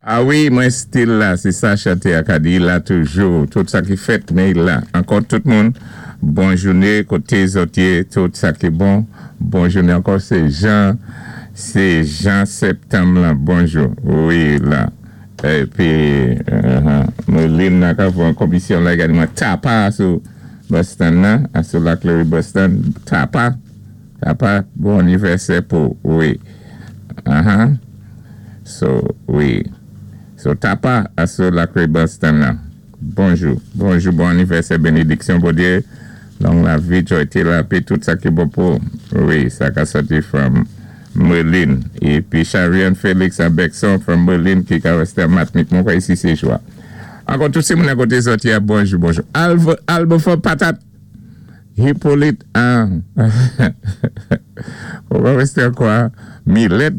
A wi, mwen still la, sé sa chanté a ka di, la toujou, tout sa ki fèt, mé la. Ankò tout moun, bon jouné, koté zòt yé, tout sa ki bon, bon jouné ankò, sé Jean Septanm la, bonjou, wi la. Épi, mwen lin nan ka fè komisyon la, gadi mwen tapa sou Boston nan, sou Laclery Boston, tapa, tapa, bon anivèsè pou, wi. So, wi. So, tapa sou Laclery Boston nan. Bonjou, bonjou, bon anivèsè, bénédiksyon, Bondyé, long lavi, jwa, lapè, tout sa ki bon pou, wi, sa ka sòti from Merlin. Épi Charian Félix à Bexon from Merlin ki ka wèstè Matnik. Mwen kwè isi sé jwa. Ankò tout sé moun akoté sòti a bonjou, bonjou. Alvo, Albo for patat. Hippolyte an. On va rester quoi? Millet.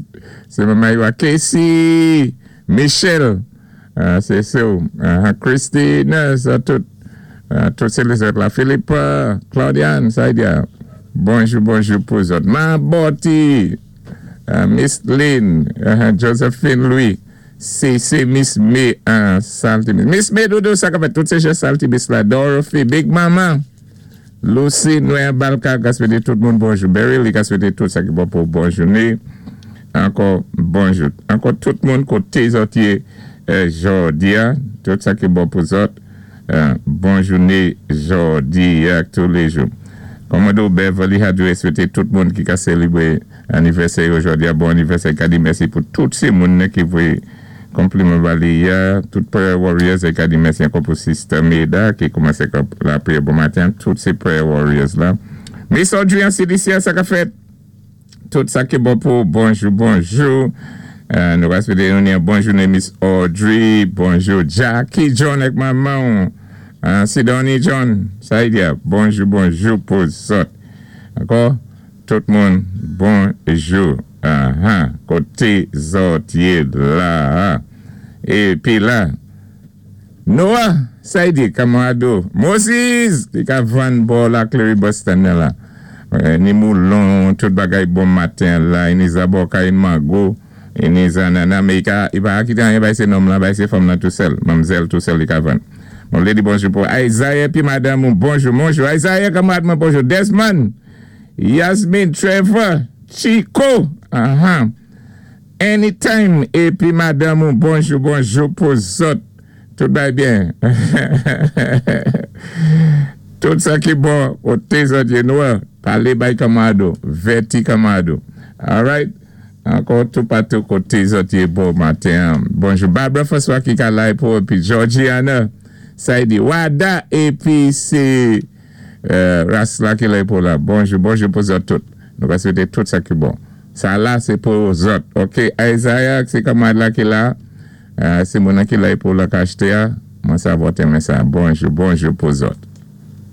C'est maman Casey. Michel. C'est ça. Christine, ça tout. Tout c'est les autres là. Philippe, Claudiane, ça y est. Bonjou, bonjou pou zòt. Ma Botti, Miss Lynn, Josephine Louis, c'est Miss May, Saltimis. Miss May, dodo, sa ka fèt tout sé jè Saltimis la. Dorothy, Big Mama, Lucy, Noé Balka, ka swété tout moun bonjou. Berry, ka swété tout sa ki bon pou bon jouné. Ankò bonjou. Ankò tout moun koté zòt yé jòdi a, tout sa ki bon pou zòt. Bon jouné jòdi a tous les jours. Commodore Beverly Hadoué swété tout moun ki ka sélébré anivèsè jòdi a bon anivèsè ka di mèsi pou tout sé moun ki voyé konpliman ba li a, tout prayer warriors é ka di mèsi ankò pou Sister Meda ki koumansé lapriyè bon maten, tout sé prayer warriors la. Miss Audrey an CDC sa ka fèt. Tout sa ki bon pou bonjou, bonjou. Nou va swété yon bon jouné Miss Audrey, bonjou Jackie John ak manman, Sidonie John, sa y di, bonjou, bonjou pou zòt. Ankò, tout moun, bonjou. Koté zòt yé la. Épi la, Noah, sa y di, Camarado, Moses, ki ka vann bò Laclery Boston la. Ni moulon, tout bagay bon maten la, ni zaboka, ni mango, ni zanana, mé i pa kité anyen bay sé nonm la, bay sé fanm nan tou sèl, manmzèl tou sèl li ka vann. Mwen vlé di bonjou pou Isaiah pi madanm ou bonjou, bonjou Isaiah kanmarad mwen bonjou, Desmond, Yasmin, Trevor, Chico, Anytime, épi madanm ou bonjou, bonjou pou zòt. Tout bay byen. Tout sa ki bon, koté zòt yé nou, palé bay Kamado, Veti Kamado. Alright? Ankò tout patou koté zòt yé bon maten. Bonjou Barbara François ki ka la pou épi Georgiana, sa di Wada épi sé Rasla ki la pou la. Bonjou, bonjou pou zòt tout. Nou va swété tout sa ki bon. Sa la sé pou zòt. OK, Isaiah, sé kanmarad la ki la. Sé moun ki la pou la ka achté a. Mwen sa voté men sa. Bonjou, bonjou pou zòt.